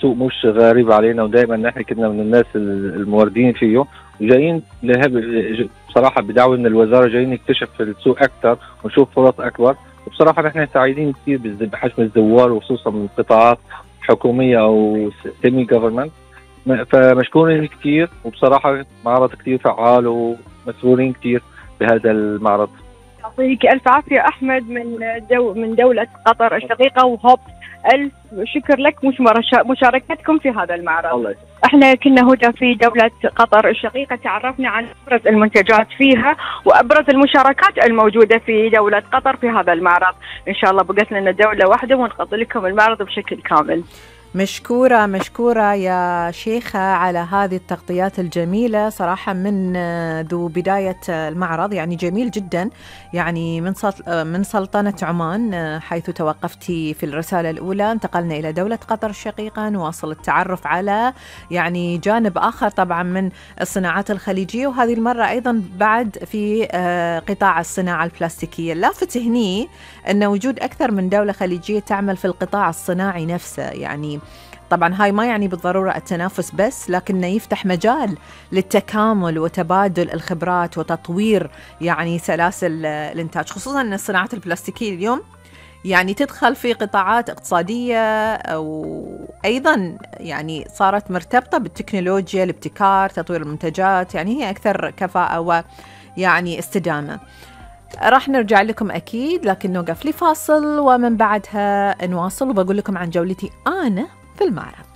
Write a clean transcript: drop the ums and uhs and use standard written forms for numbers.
سوق مش غريب علينا، ودائما نحن كنا من الناس الموردين فيه، وجايين بصراحة بدعوة من الوزارة جايين نكتشف السوق أكثر ونشوف فرص أكبر. وبصراحة نحن سعيدين كثير بحجم الزوار، وخصوصا من قطاعات حكومية أو سيمي جوفرمنت، فمشكورين كثير. وبصراحة معرض كثير فعال ومسرورين كثير بهذا المعرض. يعطيك ألف عافية أحمد من دولة قطر الشقيقة وهوب. ألف شكر لك مشاركتكم في هذا المعرض. الله يسلمك. احنا كنا هنا في دولة قطر الشقيقة، تعرفنا عن أبرز المنتجات فيها وأبرز المشاركات الموجودة في دولة قطر في هذا المعرض. إن شاء الله بقت لنا دولة واحدة ونغطي لكم المعرض بشكل كامل. مشكورة يا شيخة على هذه التغطيات الجميلة صراحة من ذو بداية المعرض، يعني جميل جدا، يعني من سلطنة عمان حيث توقفتي في الرسالة الأولى، انتقلنا إلى دولة قطر الشقيقة، نواصل التعرف على يعني جانب آخر طبعا من الصناعات الخليجية، وهذه المرة أيضا بعد في قطاع الصناعة البلاستيكية. اللافت هني أن وجود أكثر من دولة خليجية تعمل في القطاع الصناعي نفسه، يعني طبعا هاي ما يعني بالضرورة التنافس بس، لكنه يفتح مجال للتكامل وتبادل الخبرات وتطوير يعني سلاسل الإنتاج، خصوصا أن الصناعات البلاستيكية اليوم يعني تدخل في قطاعات اقتصادية وأيضا يعني صارت مرتبطة بالتكنولوجيا، الابتكار، تطوير المنتجات، يعني هي أكثر كفاءة ويعني استدامة. راح نرجع لكم أكيد، لكن نوقف لفاصل ومن بعدها نواصل، وبقول لكم عن جولتي أنا في المعرض.